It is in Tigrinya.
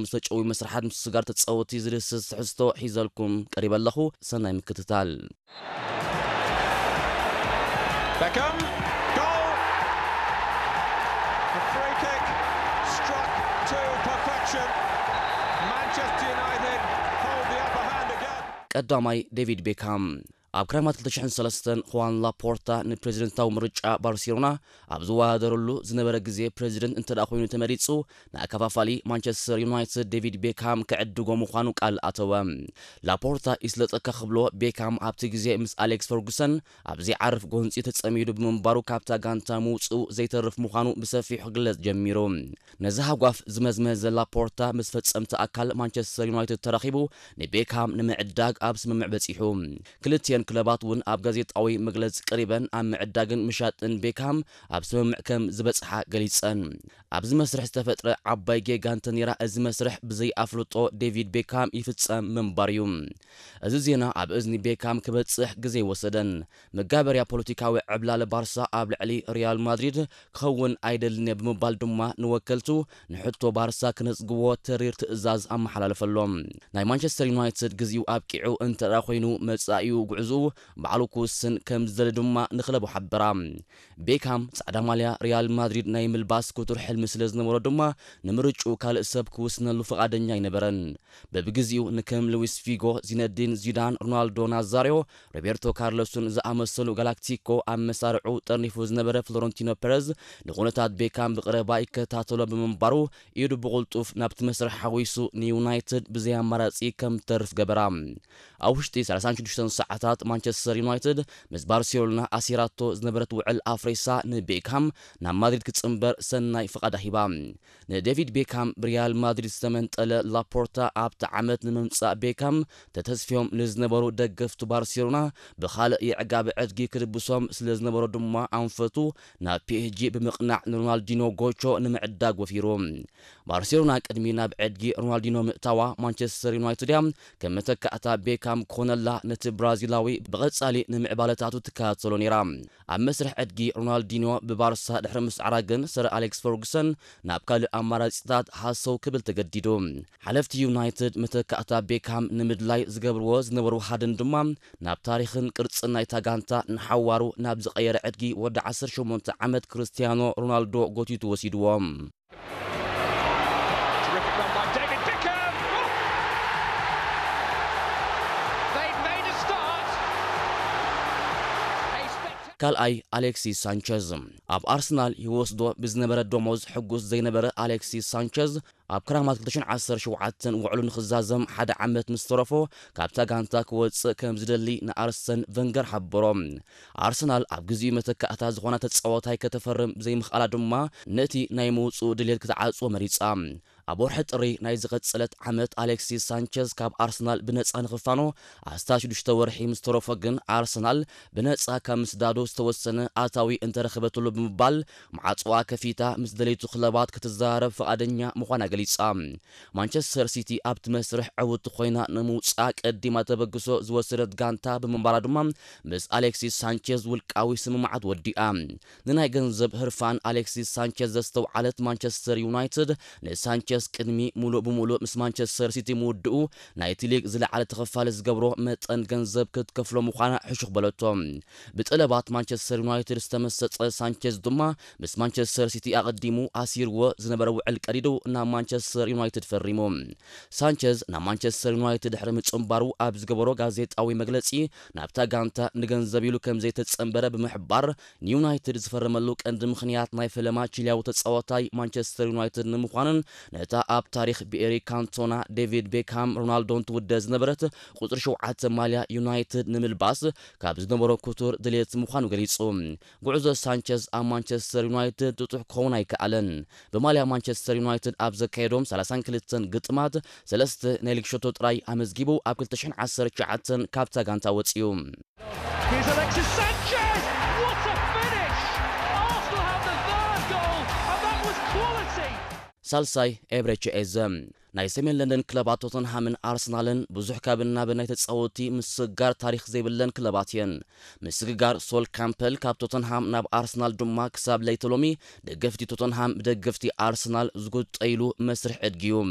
ምስ ተጨዊ መስርሓት ምስስጋር ተጻወቲ ዝድህስስ ትሕዝቶ ሒዘልኩም ቀሪበ ኣለኹ። ሰናይ ምክትታል። Beckham, goal! A free kick struck to perfection. Manchester United hold the upper hand again. ቀዳማይ ዴቪድ ቤካም። ኣብ ክረማት ክልተ ሽሕን ሰለስተን፣ ኹዋን ላፖርታ ንፕሬዚደንታዊ ምርጫ ባርሴሎና ኣብ ዝወዳደረሉ ዝነበረ ግዜ፣ ፕሬዚደንት እንተ ደኣ ኮይኑ ተመሪጹ፣ ንኣከፋፋሊ ማንቸስተር ዩናይትድ ዴቪድ ቤካም ክዕድጎ ምዃኑ ቃል ኣተወ። ላፖርታ ይስለጠካ ክብሎ፣ ቤካም ኣብቲ ግዜ ምስ ኣሌክስ ፈርጉሰን ኣብ ዘይዓርፍ ጎንጺ ተጸሚዱ ብምንባሩ፣ ካብታ ጋንታ ምውጽኡ ዘይተርፍ ምዃኑ ብሰፊሑ ክግለጽ ጀሚሩ። ነዚ ሃጓፍ ዝመዝመዘ ላፖርታ ምስ ፈጸምቲ ኣካል ማንቸስተር ዩናይትድ ተራኺቡ ንቤካም ንምዕዳግ ኣብ ስምምዕ በጺሑ። ክልቲኤን ክለባት እውን ኣብ ጋዜጣዊ መግለጺ ቀሪበን ኣብ ምዕዳግን ምሻጥን ቤካም ኣብ ስምምዕ ከም ዝበጽሓ ገሊጸን። ኣብዚ መስርሕ ዝተፈጥረ ዓባይ ጌጋ እንተነይራ፣ እዚ መስርሕ ብዘይ ኣፍልጦ ዴቪድ ቤካም ይፍጸም ምንባር እዩ። እዚ ዜና ኣብ እዝኒ ቤካም ክበጽሕ ግዜ ኣይወሰደን። መጋበርያ ፖለቲካዊ ዕብላለ ባርሳ ኣብ ልዕሊ ሪያል ማድሪድ ክኸውን ኣይደልን እየ ብምባል ድማ ንወከልቱ ንሕቶ ባርሳ ክነጽግዎ ተሪር ትእዛዝ ኣመሓላለፈሎም። ናይ ማንቸስተር ዩናይትድ ግዜኡ ኣብቂዑ እንተ ደኣ ኮይኑ መጻኢኡ ጉዕዝኡ ባዕሉ ክውስን ከም ዝደሊ ድማ ንክለቡ ሓበራ። ቤካም ጻዕዳ ማልያ ሪያል ማድሪድ ናይ ምልባስ ክቱር ሕልሚ ስለ ዝነበሮ ድማ ንምርጭኡ ካልእ ሰብ ክውስነሉ ፍቓደኛ ኣይነበረን። በብግዜኡ ንከም ሉዊስ ፊጎ፣ ዚነዲን ዚዳን፣ ሮናልዶ ናዛሪዮ፣ ሮቤርቶ ካርሎስን ዝኣመሰሉ ጋላክቲኮ ኣብ መሳርዑ ጠርኒፉ ዝነበረ ፍሎረንቲኖ ፐረዝ ንኹነታት ቤካም ብቐረባ ይከታተሎ ብምንባሩ ኢዱ ብቕልጡፍ ናብቲ መስርሕ ሓዊሱ ንዩናይትድ ብዘይ ኣማራጺ ከም ትተርፍ ገበራ። ኣብ ውሽጢ ሰላሳን ሽዱሽተን ሰዓታት ማንቸስተር ዩናይትድ ምስ ባርሴሎና ኣሲራቶ ዝነበረት ውዕል ኣፍሪሳ ንቤካም ናብ ማድሪድ ክጽንበር ሰናይ ፍቓዳ ሂባ። ንዴቪድ ቤካም ብሪያል ማድሪድ ዝተመንጠለ ላፖርታ ኣብቲ ዓመት ንምምጻእ ቤካም ተተስፍዮም ንዝነበሩ ደገፍቱ ባርሴሎና ብኻልእ የዕጋቢ ዕድጊ ክድብሶም ስለ ዝነበሮ ድማ ኣንፈቱ ናብ ፒኤስጂ ብምቕናዕ ንሮናልዲኖ ጎቾ ንምዕዳግ ወፊሩ። ባርሴሎና ቅድሚ ናብ ዕድጊ ሮናልዲኖ ምእታዋ ማንቸስተር ዩናይትድ እያ ከም መተካእታ ቤካም ክኾነላ ነቲ ብራዚላዊ ብቐጻሊ ንምዕባለታቱ ትከታተሎ ነይራ። ኣብ መስርሕ ዕድጊ ሮናልዲኖ ብባርሳ ድሕሪ ምስዓራ ግን ሰር ኣሌክስ ፈርጉሰን ናብ ካልእ ኣማራጺታት ሃሰው ክብል ተገዲዱ። ሓለፍቲ ዩናይትድ መተካእታ ቤካም ንምድላይ ዝገብርዎ ዝነበሩ ሃድን ድማ ናብ ታሪኽን ቅርጽን ናይታ ጋንታ ንሓዋሩ ናብ ዝቐየረ ዕድጊ ወዲ ዓሰርተ ሸሞንተ ዓመት ክርስቲያኖ ሮናልዶ ጎቲቱ ወሲድዎም። Terrific run by David Beckham. They've made a start. A spectacular ካልኣይ ኣሌክሲስ ሳንቸዝ። ኣብ ኣርሰናል ይወስዶ ብዝነበረ ደሞዝ ሕጉስ ዘይነበረ ኣሌክሲስ ሳንቸዝ ኣብ ክራማት ክልተ ሽሕን ዓሰርተ ሸውዓተን ውዕሉ ንኽዛዘም ሓደ ዓመት ምስ ተረፎ ካብታ ጋንታ ክወጽእ ከም ዝደሊ ንኣርሰን ቨንገር ሓበሮ። ኣርሰናል ኣብ ግዚኡ መተካእታ ዝኾነ ተጻዋታይ ከተፈርም ብዘይምኽኣላ ድማ ነቲ ናይ ምውጽኡ ድሌት ክትዓጽዎ መሪጻ። ኣብ ወርሒ ጥሪ ናይ ዝቐጸለት ዓመት ኣሌክሲስ ሳንቸዝ ካብ ኣርሰናል ብነጻ ንኽፋኖ ኣስታት ሽዱሽተ ወርሒ ምስ ተረፎ ግን ኣርሰናል ብነጻ ካብ ምስዳዱ ዝተወሰነ ኣታዊ እንተረኸበትሉ ብምባል ማዕጽዋ ከፊታ ምስ ደለይቱ ክለባት ክትዘራረብ ፍቓደኛ ምዃና ገሊጻ። ማንቸስተር ሲቲ ኣብቲ መስርሕ ዕውቲ ኮይና ንምውጻእ ቀዲማ ተበግሶ ዝወሰደት ጋንታ ብምንባራ ድማ ምስ ኣሌክሲስ ሳንቸዝ ውልቃዊ ስምምዓት ወዲኣ። ንናይ ገንዘብ ህርፋን ኣሌክሲስ ሳንቸዝ ዘስተውዓለት ማንቸስተር ዩናይትድ ንሳንቸዝ ቅድሚ ሙሉእ ብሙሉእ ምስ ማንቸስተር ሲቲ ምውድኡ ናይቲ ሊግ ዝለዓለ ተኸፋሊ ዝገብሮ መጠን ገንዘብ ክትከፍሎ ምዃና ሕሹኽ በለቶ። ብጠለባት ማንቸስተር ዩናይትድ ዝተመሰጠ ሳንቸዝ ድማ ምስ ማንቸስተር ሲቲ ኣቐዲሙ ኣሲርዎ ዝነበረ ውዕል ቀዲዱ ናብ ማንቸስተር ዩናይትድ ፈሪሙ። ሳንቸዝ ናብ ማንቸስተር ዩናይትድ ድሕሪ ምጽንባሩ ኣብ ዝገበሮ ጋዜጣዊ መግለጺ ናብታ ጋንታ ንገንዘብ ኢሉ ከም ዘይተጸንበረ ብምሕባር ንዩናይትድ ዝፈረመሉ ቀንዲ ምኽንያት ናይ ፈለማ ቺሊያዊ ተጻዋታይ ማንቸስተር ዩናይትድ ንምዃንን ነታ ኣብ ታሪኽ ብኤሪክ ካንቶና፣ ዴቪድ ቤክሃም፣ ሮናልዶን ትውደ ዝነበረት ቁጽሪ ሸውዓተ ማልያ ዩናይትድ ንምልባስ ካብ ዝነበሮ ክቱር ድሌት ምዃኑ ገሊጹ። ጉዕዞ ሳንቸዝ ኣብ ማንቸስተር ዩናይትድ ጥጡሕ ክኸውን ኣይከኣለን። ብማልያ ማንቸስተር ዩናይትድ ኣብ ዘካየዶም ሰላሳን ክልተን ግጥማት ሰለስተ ናይ ሊግ ሸቶ ጥራይ ኣመዝጊቡ ኣብ ክልተ ሽሕን ዓሰርተ ትሽዓተን ካብታ ጋንታ ወጺኡ። Here's Alexis Sanchez. What a finish! Arsenal have the third goal, and that was quality. ሳልሳይ ኤብሬቺ ኤዘ። ናይ ሰሜን ለንደን ክለባት ቶተንሃምን ኣርሰናልን ብዙሕ ካብ እናበ ናይ ተጻወቲ ምስግጋር ታሪኽ ዘይብለን ክለባት እየን። ምስግጋር ሶል ካምፐል ካብ ቶተንሃም ናብ ኣርሰናል ድማ ክሳብ ለይተ ሎሚ ደገፍቲ ቶተንሃም ብደገፍቲ ኣርሰናል ዝጉጠይሉ መስርሕ ዕድጊ እዩ።